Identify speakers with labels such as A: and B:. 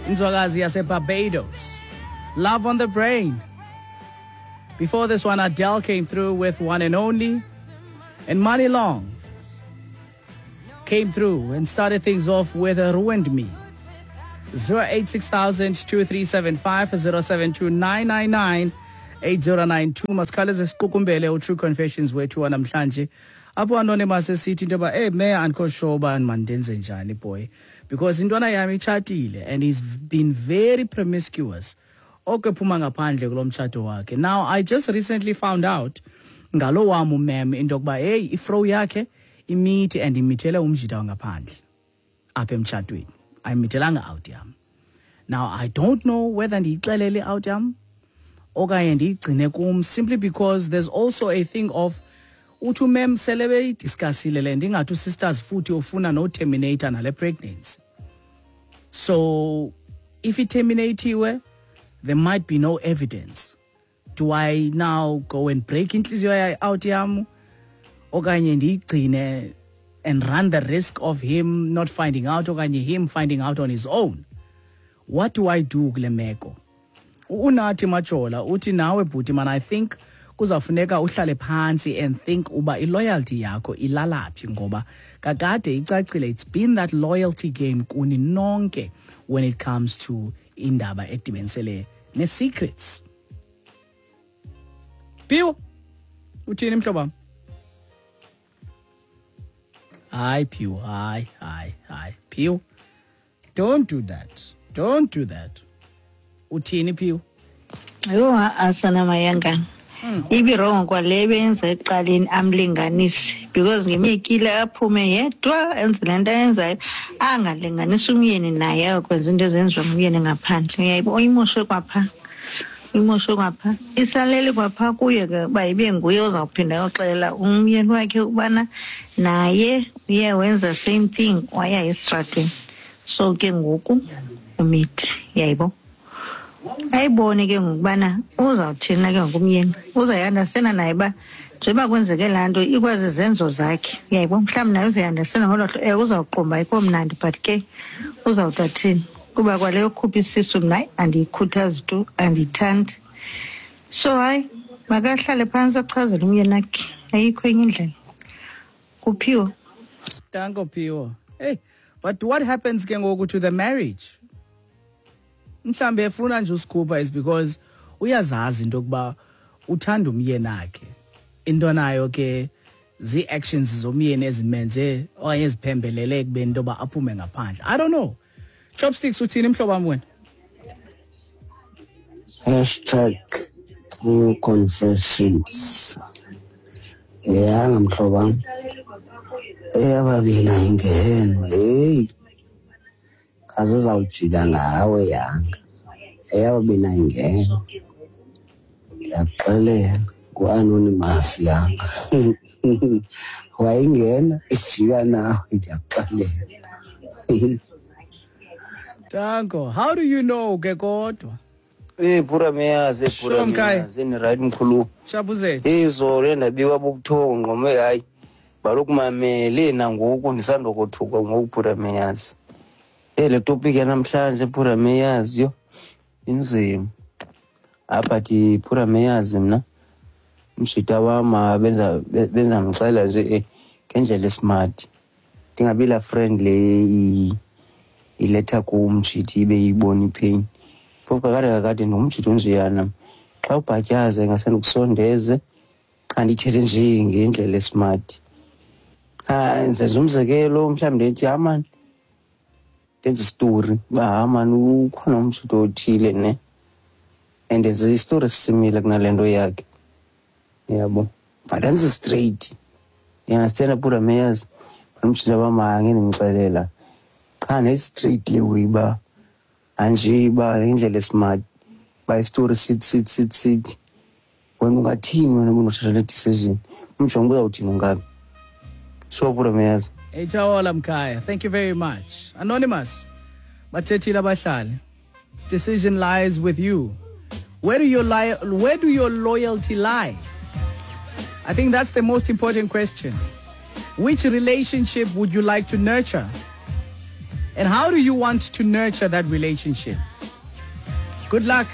A: Inzwakazi yaseBarbados. Love on the Brain. Before this one, Adele came through with One and Only. And Money Long came through and started things off with Ruined Me. 086 2375 072 8092. Masikhawuleze siqukumbele uTrue Confessions wethu wanamhlanje, apho Anonymous esithi into yoba, "Hey me, andikho sure uba mandenze njani, boy, because intwana yam itshatile and he's been very promiscuous okephuma ngaphandle kulo mtshato wakhe. Now I just recently found out ngalo wam umem into yokuba, hey, ifro yakhe imithi and imithele umjita wangaphandle apha emtshatweni, ayimithelanga out yam. Now I don't know whether ndiyixelele out yam okanye ndiyigcine kum, simply because there's also a thing of uthi umem sele beyidiscussile le nto, ingathi usisters futhi ufuna noterminate nale pregnancy. So if iterminatiwe, there might be no evidence. Do I now go and break intliziyo out yam okanye ndiyigcine and run the risk of him not finding out okanye him finding out on his own? What do I do kule meko?" Unathi Majola uthi, "Nawe bhuti man, I think kuzawufuneka uhlale phantsi and think uba iloyalty yakho ilalaphi, ngoba kakade icacile, it's been that loyalty game kuni nonke when it comes to indaba edibenisele ne-secrets." Phiwo, uthini mhlobo wam? Hayi Phiwo, hayi, hayi, hayi Phiwo, don't do that, don't do that. Uthini, Phiwo?
B: Yho, asana mayangana. Ibi-wrong kwale beyenza ekuqaleni, amlinganise, because ngemyekile aphume yedwa enze le nto ayenzayo, angalinganisi umyeni naye ayokwenza into ezenziwa ngumyeni ngaphandle. Uyayibo, uyimoshe kwapha, uyimoshe kwapha, isalele kwapha kuye ke uba ibe nguye ozawuphinda ayoxelela umyeni wakhe ukubana naye uye wenza same thing, waya esitratweni. So ke ngoku umithi, uyayibo, ayibone ke ngokubana uzawuthini ke ngokumyeni, uzayi-understanda naye uba njengoba kwenzeke laa nto ikwazi zenzo zakhe, uyayibo, mhlawumbi naye uzayi-understanda ngolo hlobo. Ewe, uzawuqomba ayikho mnandi, but ke uzawuthi athini, kuba kwale yokhupha isisu mna, hayi, andiyikhuthazi tu, andiyithandi. So hayi, makahlale phantsi achazele umyeni wakhe, ayikho enye indlela. Kuphiwo.
A: Danko, Phiwo. Hey, but what happens ke ngoku to the marriage? Mhlambe efuna nje usikhupha is because uyazazi into yokuba uthanda umyeni akhe, into nayo ke zii-actions zomyeni ezimenze okanye eziphembelele ekubeni into yoba aphume ngaphandle. I don't know. Chopsticks, uthini mhlobo wam wena?
C: #TrueConfessions. Yanga mhlobo wam, eyababini ayingenwa. Heyi, khaze izawujika ngawe yanga. Eyababini ayingenwa, ndiyakuxelela. Ngu-Anonymous yanga. Wayingena ijika nawe, ndiyakuxelela.
A: Danko. How do you know ke kodwa?
D: Eh, Pura Meyazi, eh, Pura
A: Sure, Mkhaya.
D: Meyazi, ni right mkhulu.
A: Shabuzethu.
D: Izolo endabiwa bubuthongo ngqome, hayi. Balokumamele nangoku ndisandokothuka ngoku, Pura Meyazi. Eh, le topic yanamhlanje, Pura Meyazi, yo inzima. Apha thi, Pura Meyazi, mna umshita wam, ah, benza mxela nje ngendlela esmart. Ndingabi la friend le iletha kumjiti ibe ibona ipain. Phofu kakade kakade ndingumjiti onjeyana. Xa ubhatyaza ingase ndikusondeze, qha ndithethe nje ngendlela esmart. Ah, ndenza umzekelo, mhlawumbi ndithi, ha mani, ndenze isitori uba, ha mani, ukhona umjito othile ne, and enze isitori esisimile kunale nto yakhe, uyabo, but andizi straight, ndiyangastenda, Pura Meyazi. Umjita wam angeke ndimxelela, qha ne-straight le way uba anje uba indlela esmart uba isitori sithi sithi sithi sithi. Wena ungathini wena ubunothatha le decision? Umjonge uba uzawuthini ungabi so, Pura Meyazi.
A: Etshawola mkhaya, thank you very much. Anonymous, bathethile abahlali. Decision lies with you. Where do your loyalty lie? I think that's the most important question. Which relationship would you like to nurture? And how do you want to nurture that relationship? Good luck.